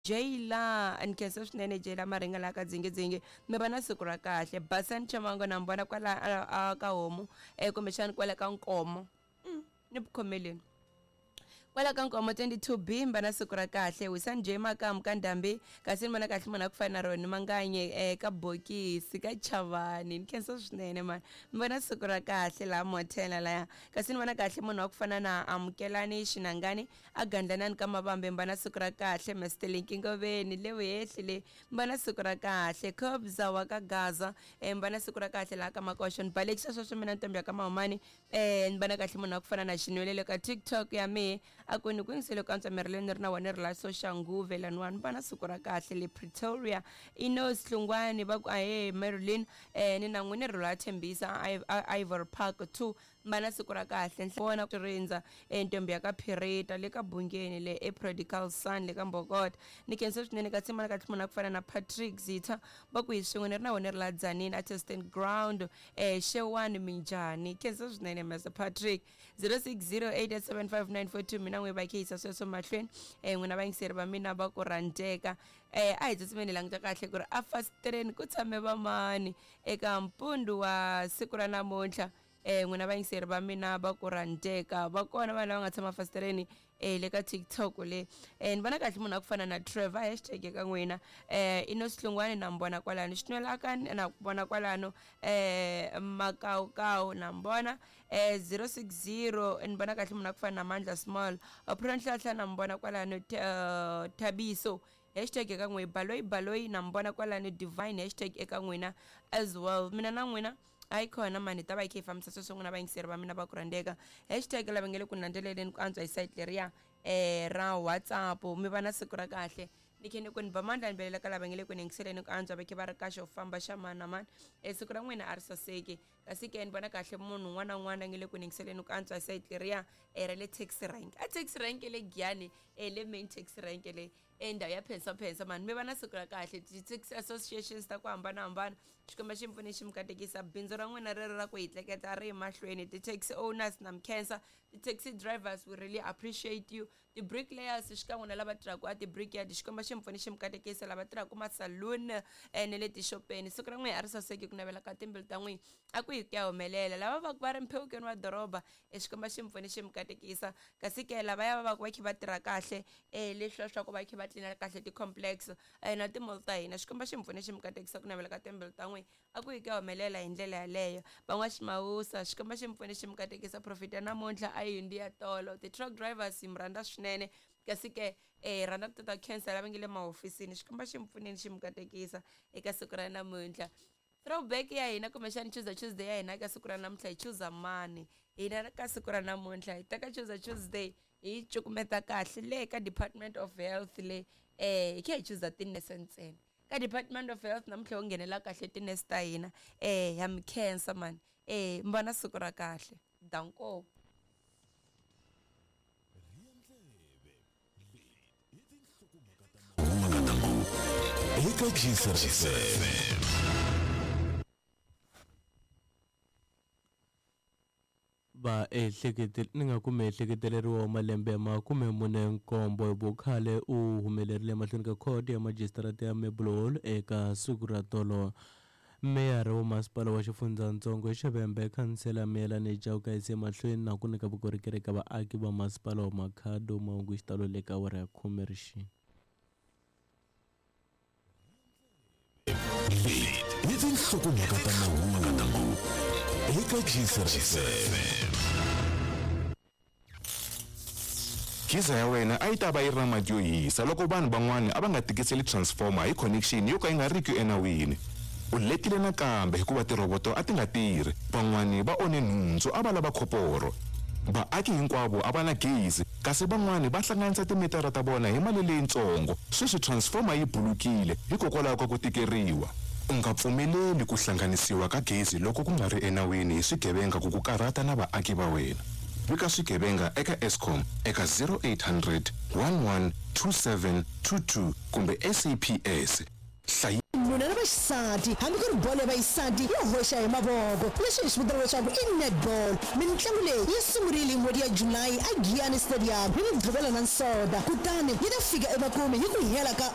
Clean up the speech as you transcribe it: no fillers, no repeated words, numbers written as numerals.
Jayla ni khensa swinene Jayla Maringa laha ka Dzingidzingi mi va na siku ra kahle Basani Chamango na mi vona kwala a ka homu eh kumbexani kwala ka Nkomo ni ku khomeleni kwala ka Nkomo 22B mi va na siku ra kahle Wisani J Makamu ka Ndhambi kasi ni vona kahle munhu a ku fana na Roni Manganye eh ka Bokisi ka Chavani ni khensa swinene mani mi va na siku ra kahle laha Mothela laya kasi ni vona kahle munhu wa ku fana na Amukelani Xinangani A gandlanani ka mavambe mbana siku ra kahle Mister Linki Ngoveni le vuhehli le mbana siku ra kahle Khobza wa ka Gaza eh mbana siku ra kahle laha ka Makoxo ni balekisa sweswo mina ntombi ya ka Mahumani eh ni vona kahle munhu wa ku fana na Xinwelele ka TikTok ya mehe a ku ni ku yingisele ku antswa miri leyi ni ri na wona ri la Soshanguve laniwani mbana siku ra kahle le Pretoria Inos Hlungwani va ku ahee Marilyn eh ni na n'wini ri la Thembisa Ivory Park 2 Va na siku ra kahle. Vona ku rindza e ntombi ya ka Phirita le ka Bungeni le e Prodigal Son le ka Mbokota. Ni khensa swinene ka tsima ka tlhumana ku fana na Patrick Zitha va ku hi swin'we ni ri na wena ri la Tzaneen a testing ground e xewani minjhani. Khensa swinene Master Patrick. 0608875942 mina n'wi va khiyisa sweswo mahlweni e n'wina vayingiseri va mina va ku rhandzeka e a hi tsutsumeni hi languta kahle ku ri a fasitireni ku tshame vamani eka mpundu wa siku ra namuntlha. Eh n'wina vayingiseri va mina va ku rhandzeka va kona vanhu lava nga tshama fasitereni eh le ka TikTok le eh ni vona kahle munhu a ku fana na Trevor hashtag eka n'wina eh ino sihlungwani na mi vona kwalano xinwela ka na ku vona kwalano eh makawukawu na mi vona eh 060 ni vona kahle munhu a ku fana na Mandla Small Phura Nhlahla na mi vona kwalano Thabiso hashtag eka n'wina baloyi baloyi na mi vona kwalano Divine hashtag eka n'wina as well mina na n'wina Hayi khona mani hi ta va hi kha hi fambisa sweswo n'wina vayingiseri va mina va ku rhandzeka. Hashtag lava nge le ku landzeleleni ku antswa hi site leriya ra WhatsApp mi va na siku ra kahle. Ni khe ni ku ni ba mandla ni belela ka lava nge le ku ni yingiseleni ku antswa va khe va ri ka xo famba xa mani na mani. Siku ra n'wina a ri saseki. Kasi ke ni vona kahle munhu un'wana na un'wana a nge le ku ni yingiseleni ku antswa hi site leriya ra le taxi rank. A taxi rank le Giyani le main taxi rank le e ndhawu ya phensaphensa mani mi va na siku ra kahle ti-taxi associations ta ku hambanahambana Xikwembu xi mi pfune xi mi katekisa bindzu ra n'wina rero ra ku hi tleketla ri mahlweni ti-taxi owners na mi khensa ti-taxi drivers we really appreciate you ti-bricklayers xikan'we na lava tirhaka a ti-brickyard Xikwembu xi mi pfune xi mi katekisa lava tirhaka ma-saloon eh, na le tixopeni siku ra n'wina a ri saseki ku navela ka timbilu ta n'wina a ku yi ku ya humelela lava va ku va ri mphewukeni wa doroba e Xikwembu xi mi pfune xi mi katekisa kasi ke lavaya va va ku va kha va tirha kahle um leswiya swa ku va kha va tlina kahle ti-complex na ti-mall ta hina Xikwembu xi mi pfune xi mi katekisa ku navela ka timbilu ta n'wina a ku yi ku ya humelela hi ndlela yaleyo van'waximawusa Xikwembu xi mi pfune xi mi katekisa profit ya namuntlha a yi hundzi ya tolo ti-truck drivers hi mi rhandza swinene kasi ke hi rhandza ku tata khensa lava nge le mahofisini Xikwembu xi mi pfuneni xi mi katekisa eka siku ra namuntlha throwback ya hina kumbexani Tuesday Tuesday ya hina ka siku ra namuntlha hi chuza mani hina ka siku ra namuntlha hi teka Tuesday Tuesday hi cukumeta kahle le ka Department of Health le eh hi kha hi chuza tinese ntsena ka Department of Health namuntlha u nghenela kahle tinese ta hina eh ya mi khensa mani eh mi va na siku ra kahle danko Eka Giyisa FM. Va ehlekete ni nga ku muehleketeleriwa wa malembe ya 47 hi vukhale u humelerile emahlweni ka khoto ya majisitarata ya Mebulhall eka siku ra tolo. Meyara wa masipala wa xifundzatsongo xa Vhembe, Khansela Miyelani Chauke a yise emahlweni na ku nyika vukorhokeri eka vaaki va masipala wa Makhado mahungu hi xitalo le ka awara ya khume rixini. Leti i tinhlokomhaka ta mahungu eka Giyisa FM. Geyser ya wena a yi ta va yi ri na mati yo hisa loko vanhu van'wana a va nga tikiseli transformer hi connection yo ka yi nga riki enawini. U letile nakambe hikuva tirhoboto a ti nga tirhi. Van'wana va onhe nhundzu a va lava khoporo. Vaaki hinkwavo a va na gezi kasi van'wana va hlanganisa timitara ta vona hi mali leyitsongo. Sweswi transformer yi bulukile hikokwalaho ka ku tikeriwa. U nga pfumeleli ku hlanganisiwa ka gezi loko ku nga ri enawini hi swigevenga ku ku karhata na vaaki va wena. Vika swigevenga eka Eskom eka 0800 11 27 22 kumbe SAPS. Hlayi. vaxinuna na vaxisati, hambi ku ri bolo ya vaxisati yo hoxa hi mavoko, leswi hi swi vitanaka leswaku i netball. Mitlangu leyi yi sungurile hi n'hweti ya July a Giyani Stadium hi Mugqivela na Nsoda, kutani yi ta fika emakumu hi ku hela ka